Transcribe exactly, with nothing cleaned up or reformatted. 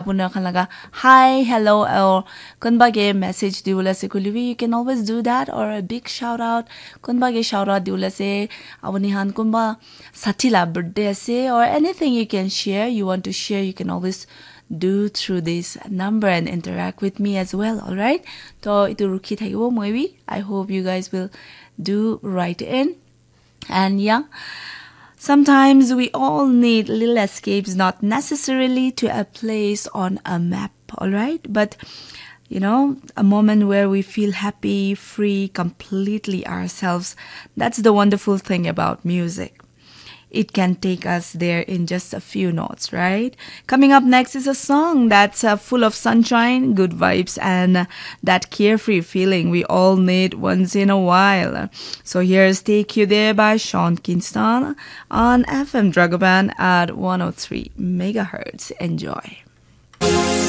apuna khan laga hi, hello, or kunba ke message diwala ase koile bi, you can always do that, or a big shout out. Kunba ke shout out diwala ase, apuni khan kunba sathi la birthday ase, or anything you can share, you want to share, you can always do through this number and interact with me as well, all right? To itu rukhi thakibo moi bi. I hope you guys will do write in. And yeah, sometimes we all need little escapes, not necessarily to a place on a map, all right? But you know, a moment where we feel happy, free, completely ourselves. That's the wonderful thing about music. It can take us there in just a few notes, right? Coming up next is a song that's uh, full of sunshine, good vibes, and that carefree feeling we all need once in a while. So here's Take You There by Sean Kingston on F M Dragoban at one oh three megahertz. Enjoy.